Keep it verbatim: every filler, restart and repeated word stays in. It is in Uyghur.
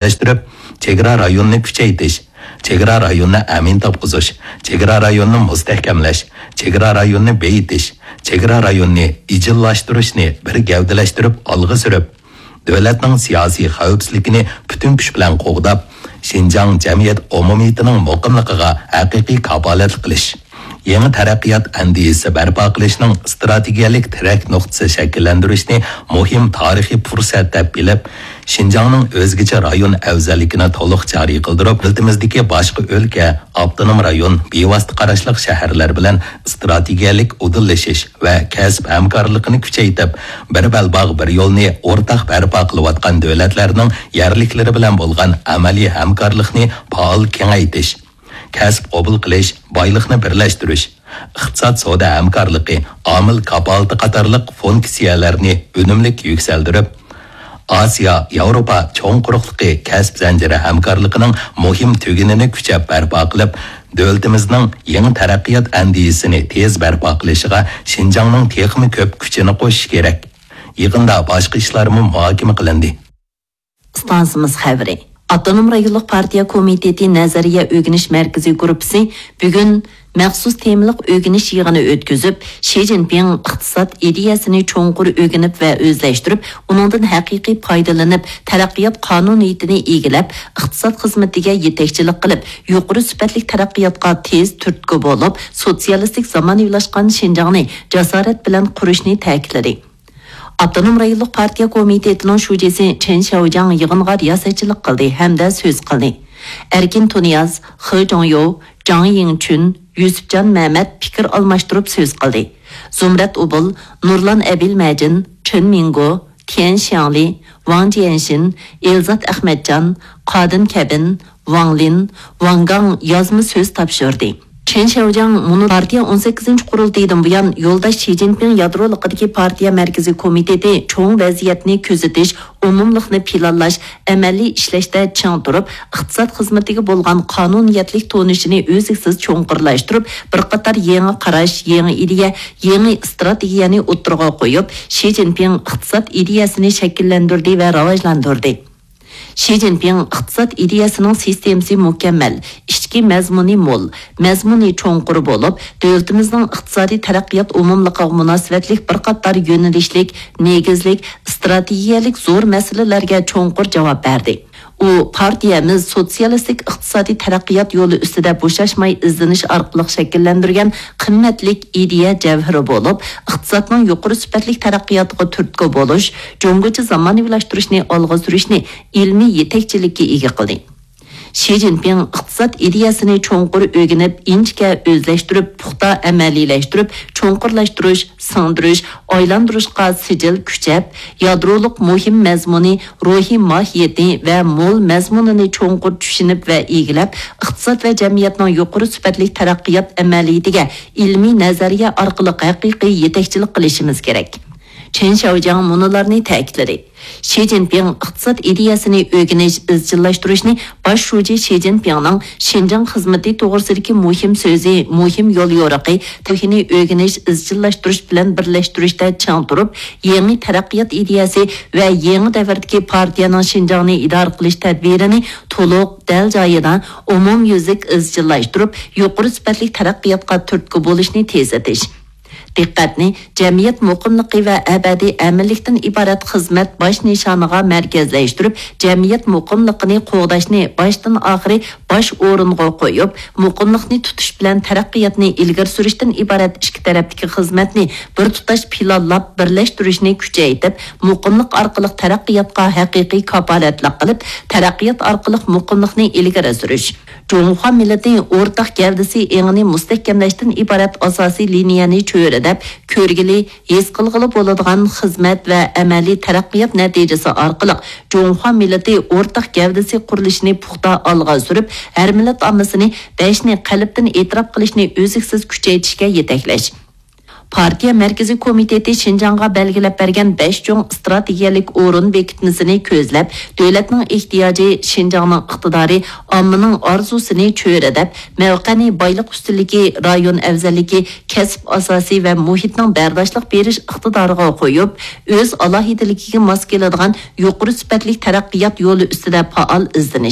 ئىلگىرىلەشتۈرۈپ، چېگرا رايونىنى كۈچەيتىش، چېگرا رايونىنى ئەمىن تاپقۇزۇش، چېگرا رايونىنى مۇستەھكەملەش، چېگرا رايونىنى بېيىتىش، چېگرا رايونىنى ئىجىللاشتۇرۇشنى بىر گەۋدىلەشتۈرۈپ ئالغا سۈرۈپ، دۆلەتنىڭ سىياسىي خەۋپسىزلىكىنى پۈتۈن كۈچ بىلەن قوغداپ، شىنجاڭ جەمئىيەت ئومۇمىيىتىنىڭ مۇقىملىقىغا ھەقىقىي كاپالەتلىك قىلىش، يېڭى تەرەققىيات ئەندىزىسى بەرپا قىلىشنىڭ ئىستراتېگىيەلىك تىرەك نۇقتىسى شەكىللەندۈرۈشنى مۇھىم تارىخىي پۇرسەت دەپ بىلىپ، شىنجاڭنىڭ ئۆزگىچە رايون ئەۋزەللىكىنى تولۇق جارى قىلدۇرۇپ، دۆلىتىمىزدىكى باشقا ئۆلكە، ئاپتونوم رايون، بىۋاسىتە قاراشلىق شەھەرلەر بىلەن ئىستراتېگىيەلىك ئۇدۇللىشىش ۋە كەسىپ ھەمكارلىقىنى كۈچەيتىپ، بىر بەلباغ، بىر يولنى ئورتاق بەرپا قىلىۋاتقان دۆلەتلەرنىڭ يەرلىكلىرى بىلەن بولغان ئەمەلىي ھەمكارلىقنى پائال كېڭەيتىش، كەسىپ قوبۇل قىلىش، بايلىقنى بىرلەشتۈرۈش، ئىقتىساد سودا ھەمكارلىقى، ئامىل كاپالىتى قاتارلىق فۇنكسىيەلەرنى ئۈنۈملۈك يۈكسەلدۈرۈپ، ئاسىيا، ياۋروپا چوڭ قۇرۇقلۇقى كەسىپ زەنجىرى ھەمكارلىقىنىڭ مۇھىم تۈگۈنىنى كۈچەپ بەرپا قىلىپ، دۆلىتىمىزنىڭ يېڭى تەرەققىيات ئەندىزىسىنى تېز بەرپا قىلىشىغا شىنجاڭنىڭ تېخىمۇ كۆپ كۈچىنى قوشۇشى كېرەك. يىغىندا باشقا ئىشلارمۇ مۇھاكىمە قىلىندى. ئىستانسىمىز خەۋىرى. ئاپتونوم رايونلۇق پارتىيە كومىتېتى نەزەرىيە ئۆگىنىش مەركىزى گۇرۇپپىسى بۈگۈن مەخسۇس تېمىلىق ئۆگىنىش يىغىنى ئۆتكۈزۈپ، شى جىنپىڭ ئىقتىساد ئىدىيەسىنى چوڭقۇر ئۆگىنىپ ۋە ئۆزلەشتۈرۈپ، ئۇنىڭدىن ھەقىقىي پايدىلىنىپ، تەرەققىيات قانۇنىيىتىنى ئىگىلەپ، ئىقتىساد خىزمىتىگە يېتەكچىلىك قىلىپ، يۇقىرى سۈپەتلىك تەرەققىياتقا تېز تۈرتكە بولۇپ، سوتسىيالىستىك زامانىۋىلاشقان شىنجاڭنى جاسارەت بىلەن قۇرۇشنى تەكىتلىدى. ئاپتونوم رايونلۇق پارتىيە كومىتېتىنىڭ شۇجىسى چېن شياۋجياڭ يىغىنغا رىياسەتچىلىك قىلدى ھەمدە سۆز قىلدى. ئەركىن تۇنىياز، خې جۇڭيو، جاڭ يىڭچۈن، يۈسۈپجان مەمەت پىكىر ئالماشتۇرۇپ سۆز قىلدى. زۇمرەت ئۇبۇل، نۇرلان ئەبىلمەجىن، چېن مىڭگو، تيەن شياڭلى، ۋاڭ جيەنشىن، ئېلزات ئەخمەتجان، قادىن كەبىن، ۋاڭ لىن، ۋاڭ گاڭ يازما سۆز تاپشۇردى. چېن شياۋجياڭ مۇنۇ پارتىيە ئون سەككىزىنچى قۇرۇلتىيىدىن بۇيان يولداش شى جىنپىڭ يادرولۇقىدىكى پارتىيە مەركىزىي كومىتېتى چوڭ ۋەزىيەتنى كۆزىتىش، ئومۇملۇقنى پىلانلاش، ئەمەلىي ئىشلەشتە چىڭ تۇرۇپ، ئىقتىساد خىزمىتىگە بولغان قانۇنىيەتلىك تونۇشىنى ئۈزلۈكسىز چوڭقۇرلاشتۇرۇپ، بىر قاتار يېڭى قاراش، يېڭى ئىدىيە، يېڭى ئىستراتېگىيەنى ئوتتۇرىغا قويۇپ، شى جىنپىڭ ئىقتىساد ئىدىيەسىنى شەكىللەندۈردى ۋە راۋاجلاندۇردى. شى جىنپىڭ ئىقتىساد ئىدىيەسىنىڭ سىستېمىسى مۇكەممەل، ئىچكى مەزمۇنى مول، مەزمۇنى چوڭقۇر بولۇپ، دۆلىتىمىزنىڭ ئىقتىسادىي تەرەققىيات ئومۇملۇقىغا مۇناسىۋەتلىك بىر قاتار يۆنىلىشلىك، نېگىزلىك، ئىستراتېگىيەلىك زور مەسىلىلەرگە چوڭقۇر جاۋاب بەردى. ئۇ پارتىيەمىز سوتسىيالىستىك ئىقتىسادىي تەرەققىيات يولى ئۈستىدە بوشاشماي ئىزدىنىش ئارقىلىق شەكىللەندۈرگەن قىممەتلىك ئىدىيە جەۋھىرى بولۇپ، ئىقتىسادنىڭ يۇقىرى سۈپەتلىك تەرەققىياتىغا تۈرتكە بولۇش، جۇڭگوچە زامانىۋىلاشتۇرۇشنى ئالغا سۈرۈشنى ئىلمىي يېتەكچىلىككە ئىگە قىلدى. شى جىنپىڭ ئىقتىساد ئىدىيەسىنى چوڭقۇر ئۆگىنىپ، ئىنچىكە ئۆزلەشتۈرۈپ، پۇختا ئەمەلىيلەشتۈرۈپ، چوڭقۇرلاشتۇرۇش، سىڭدۈرۈش، ئايلاندۇرۇشقا سىجىل كۈچەپ، يادرولۇق مۇھىم مەزمۇنى، روھىي ماھىيىتى ۋە مول مەزمۇنىنى چوڭقۇر چۈشىنىپ ۋە ئىگىلەپ، ئىقتىساد ۋە جەمئىيەتنىڭ يۇقىرى سۈپەتلىك تەرەققىيات ئەمەلىيىتىگە ئىلمىي نەزەرىيە ئارقىلىق ھەقىقىي يېتەكچىلىك قىلىشىمىز كېرەك. چېن شياۋجياڭ مۇنۇلارنى تەكىتلىدى. شى جىنپىڭ ئىقتىساد ئىدىيەسىنى ئۆگىنىش، ئىزچىللاشتۇرۇشنى باش شۇجى شى جىنپىڭنىڭ شىنجاڭ خىزمىتى توغرىسىدىكى مۇھىم سۆزى، مۇھىم يوليورۇقى، تارىخىنى ئۆگىنىش، ئىزچىللاشتۇرۇش بىلەن بىرلەشتۈرۈشتە چىڭ تۇرۇپ، يېڭى تەرەققىيات ئىدىيەسى ۋە يېڭى دەۋردىكى پارتىيەنىڭ شىنجاڭنى ئىدارە قىلىش تەدبىرىنى تولۇق، دەل جايىدا، ئومۇميۈزلۈك ئىزچىللاشتۇرۇپ، يۇقىرى سۈپەتلىك تەرەققىياتقا تۈرتكە بولۇشنى تېزلىتىش. دىققەتنى جەمئىيەت مۇقىملىقى ۋە ئەبەدىي ئەمىنلىكتىن ئىبارەت خىزمەت باش نىشانىغا مەركەزلەشتۈرۈپ، جەمئىيەت مۇقىملىقىنى قوغداشنى باشتىن ئاخىرى باش ئورۇنغا قويۇپ، مۇقىملىقنى تۇتۇش بىلەن تەرەققىياتنى ئىلگىرى سۈرۈشتىن ئىبارەت ئىككى تەرەپتىكى خىزمەتنى بىر تۇتاش پىلانلاپ بىرلەشتۈرۈشنى كۈچەيتىپ، مۇقىملىق ئارقىلىق تەرەققىياتقا ھەقىقىي كاپالەتلىك قىلىپ، تەرەققىيات ئارقىلىق مۇقىملىقنى ئىلگىرى سۈرۈش. جۇڭخۇا مىللىتى ئورتاق گەۋدىسى ئېڭىنى مۇستەھكەملەشتىن ئىبارەت ئاساسىي لىنىيەنى چۆرىدەپ، كۆرگىلى، ھېس قىلغىلى بولىدىغان خىزمەت ۋە ئەمەلىي تەرەققىيات نەتىجىسى ئارقىلىق جۇڭخۇا مىللىتى ئورتاق گەۋدىسى قۇرۇلۇشىنى پۇختا ئالغا سۈرۈپ، ھەر مىللەت ئاممىسىنى بەشنى قەلبتىن ئېتىراپ قىلىشنى ئۈزلۈكسىز كۈچەيتىشكە يېتەكلەش. پارتىيە مەركىزىي كومىتېتى شىنجاڭغا بەلگىلەپ بەرگەن بەش چوڭ ئىستراتېگىيەلىك ئورۇن بېكىتمىسىنى كۆزلەپ، دۆلەتنىڭ ئېھتىياجى، شىنجاڭنىڭ ئىقتىدارى، ئاممىنىڭ ئارزۇسىنى چۆرىدەپ، مەۋقەنى بايلىق ئۈستۈنلۈكى، رايون ئەۋزەللىكى، كەسىپ ئاساسى ۋە مۇھىتنىڭ بەرداشلىق بېرىش ئىقتىدارىغا قويۇپ، ئۆز ئالاھىدىلىكىگە ماس كېلىدىغان يۇقىرى سۈپەتلىك تەرەققىيات يولى ئۈستىدە پائال ئىزدىنىش.